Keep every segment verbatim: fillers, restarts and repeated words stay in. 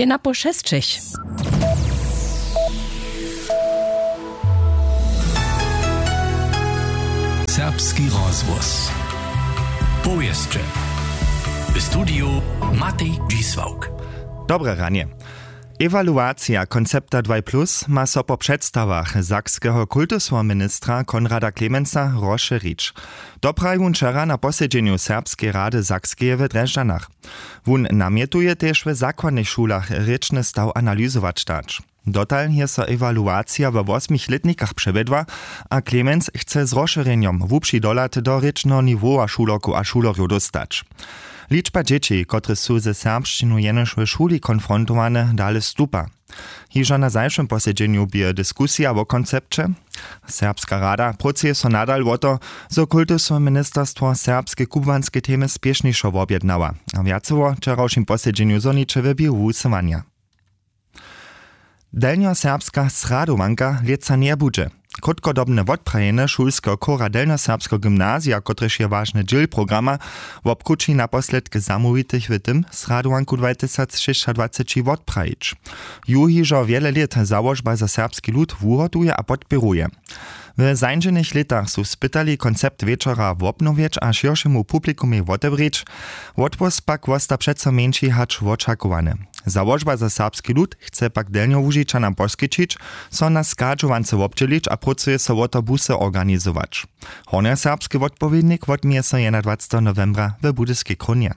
Ena po šesćich. Serbski rozhłos. Powěsće. W studiju Matej Dźisławk. Dobre ranje. Ewaluacija koncepta dwaj plus ma so po předstawach sakskeho kultusneho ministra Konrada Klemensa rozšěrić. To praji wón wčera na posedźenju Serbskeje rady Sakskeje w Drježdźanach. Wón namjetuje tež, w zakładnych šulach rěčny staw analyzować dać. Dotal je so ewaluacija we wosmich lětnikach přewjedła a Klemenc chce z rozšěrjenjom hłubši dohlad do rěčneho niwowa šulerkow a šulerjow dóstać. Ličba dźěći, kotrež su ze serbšćinu jenož w šuli konfrontowane, dale stupa. Hižo na zašłym posedźenju bě diskusija wo koncepće. Serbska rada prócuje so nadal wo to, zo kultusne ministerstwo serbske kubłanske temy spěšnišo wobjednała a wjacowo wčerawšim posedźenju zhoniće w běhu wusyłanja. Delnjoserbska sradowanka lětsa njebudźe. Krótkodobne wotprajenje šulskeho chóra delnjoserbskeho gymnazija, kotrež je wažny dźěl programa, wobkrući naposledk zamołwitych w tym, sradowanku dwatysacšěsćadwaceći wotprajić. Ju hižo wjele lět załožba za serbski lud wuhotuje a podpěruje. W zańdźenych lětach su spytali koncept wječora wobnowjeć a šěršemu publikumej wotewrěć. Wotpust pak wosta přeco mjeńši hač wočakowany. Załožba za serbski lud chce pak delnjołužičanam poskićić, so na schadźowance wobdźělić a prócuje so wo to busy organizować. Hornjoserbski wotpowědnik wotměje so jedenadwaceteho nowembra w budyskej krónje.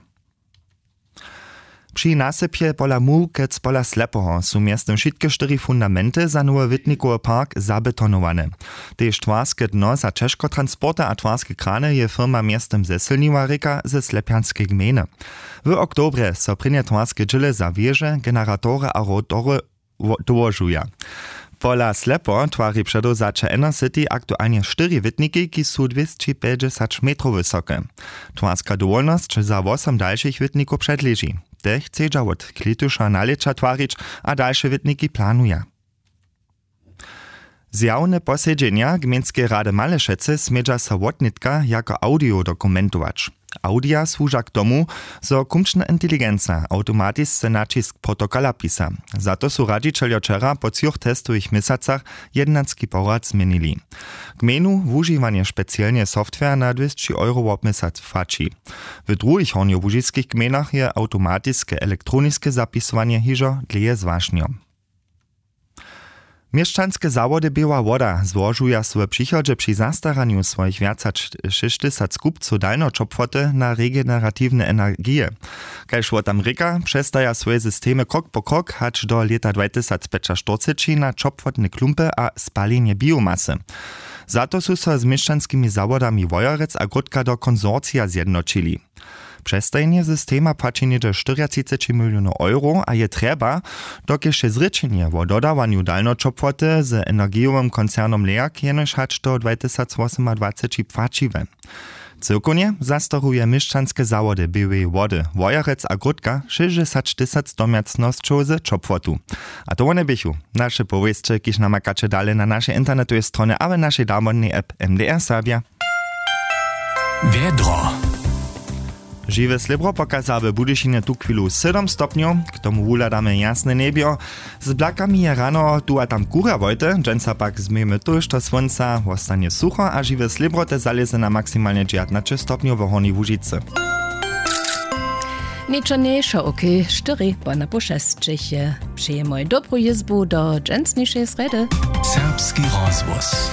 Při nasypje pola mułkec pola slepoho su mjeztym wšitke štyri fundamenty za nowy witnikowy park zabetonowane. Tež twarske dno za ćežkotransporty a twarske krany je firma mjeztym zesylniła, rěka ze slepjanskej gmejny. W oktobrje so prěnje twarske dźěle za wěže, generatory a rotory dołožuja. Pola slepo twari předewzaće enercity aktualnje štyri wětniki, kiž su dwěsćipjećdźesać metrow wysoke. Twarska dowolnosć za wosom dalšich wětnikow předleži. Te chcedźa wot klětuša nalěća twarić a dalše wětniki planuja. Zjawne posedźenja gmejnskeje rady malešecy smědźa so wotnětka jako audio dokumentować. Audija słuža k tomu, zo kumčna inteligenca awtomatisce naćisk protokola pisa. Za to su radźićeljo wčera po třoch testowych měsacach jednanski porad změnili. Gmejnu wužiwanje specielnje software na dwěsći euro wobměsac płaći. W druhich hornjołužiskich gmejnach je awtomatiske elektroniske zapisowanje hižo dlěje zwašnjo. Měšćanske zawody běła woda złožuja so w přichodźe při zastaranju swojich wjac hač šěsćtysac kupcow dalnjoćopłoty na regeneratiwne energije. Kaž wot tam rěka, přestaja swoje systemy krok po krok hač do lěta dwatysacpjećaštyrceći na ćopłotne klumpy a spalenje biomasy. Za to su so z měšćanskimi zawodami wojerec a gródka do konsorcija zjednoćili. Přestajenje systema płaći něhdźe štyriatřiceći milionow euro a je trjeba, dokelž je zrěčenje wo dodawanju dalnjoćopłoty z energijowym koncernom leak jenož hač do dwatysacwosomadwaceći płaćiwe. Cyłkownje zastaruje měšćanske zawody běłeje wody, wojerec a gródka šěsćdźesać tysac domjacnosćow z ćopłotu. A to wone běchu naše powěsće, kiž namakaće dale na našej internetowej stronje a w našej damodnej app. M D R Serbja. Wjedro. Žiwe slěbro pokaza w Budyšinje tuchwilu sydom stopnjow. K tomu wuhladamy jasne njebjo. Z blakami je rano tu a tam kurjawojte, dźensa pak změjemy tójšto słónca, wostanje sucho a žiwe slěbro te zalěze na maksimalnje dźewjatnaće stopnjow w Hornjej Łužicy. Něčo njejšo, okej, štyri po na pół šesćich je. Přejemoj dobru jězbu do dźensnišej srjedy. Serbski rozhłos.